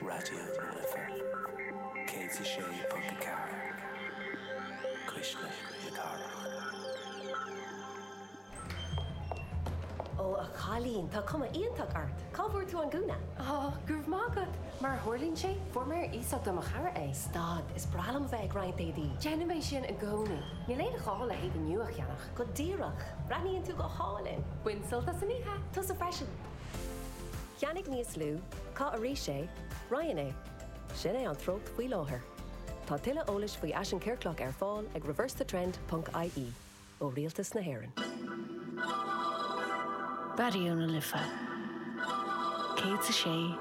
Raidió na Life 106.4, Cuisle na Cathrach. Ó, a chailín, tá cuma iontach ort! Cá bhfuair tú an gúna? Ó, go raibh maith agat! Mar a tharlaíonn sé, fuair mé ar iasacht ó mo chara é. Stad, is breá liom a bheith ag roinnt éadaí. Déanaim é sin i gcónaí. Níl aon ghá le héadaí nua a cheannach. Go díreach! Breathnaíonn tú go hálainn! Bain sult as an oíche! Tusa freisin! Ceannaigh níos lú, caith arís é, roinn é. Sin é an treocht faoi láthair. Tá tuilleadh eolais faoi fhaisean ciorclach ar fáil ag reversethetrend ponc ie ó Rialtas na hÉireann. Raidió na Life 106.4.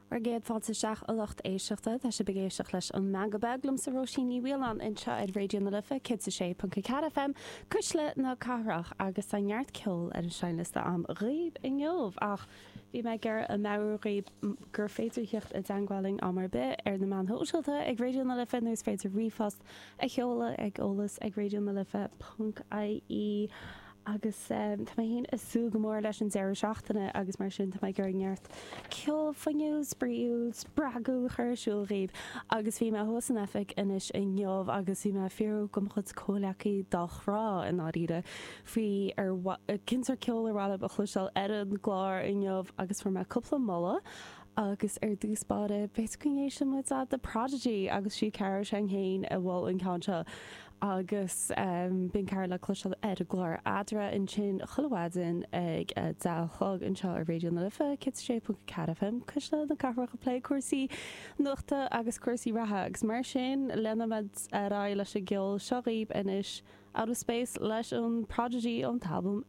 Bhur gcéad fáilte isteach a lucht éisteachta. Tá sibh ag éisteacht leis An Meangadh Beag liomsa Róisín Ní Mhaoláin anseo ar Raidió na Life 106.4 FM, Cuisle na Cathrach agus tá neart ceoil ar an seinnliosta a'm dhaoibh inniu ach bhí mé ag iarraidh a mheabhrú dhaoibh gur féidir theacht i dteangmháil linn am ar bith ar na meáin shóisialta ag Raidió na Life nó is féidir ríomhphost a sheoladh ag eolas ag raidionalife ponc ie agus tá mé féin ag súil go mór leis an deireadh seachtaine agus mar sin tá mé ag iarraidh neart ceol fuinniúil, spraíúil, spreagúil a chur ar siúl dhaoibh agus bhí mé thuas san oifig anois inniu agus bhí mé ag fiafraí de mo chuid comhleacaí dá chrá i ndáiríre faoi ar cén sórt ceoil ar mhaith leo a chloisteáil ar an gclár inniu agus fuair mé cúpla moladh Agus ar dtús báire, b'fhéidir go n-éistfidh muid le The Prodigy agus sí Cara Sheng féin a mhol an ceann seo agus bíonn Cara le cloisteáil ar an gclár Eadra ansin chuile mhaidin ag a 10 a chlog anseo ar Raidió na Life 106.4 FM, Cuisle na Cathrach ag plé cúrsaí nuachta agus cúrsaí reatha agus mar sin leanfaimid ar aghaidh leis an gceol seo dhaoibh anois Out of Space leis an Prodigy ón t-albam.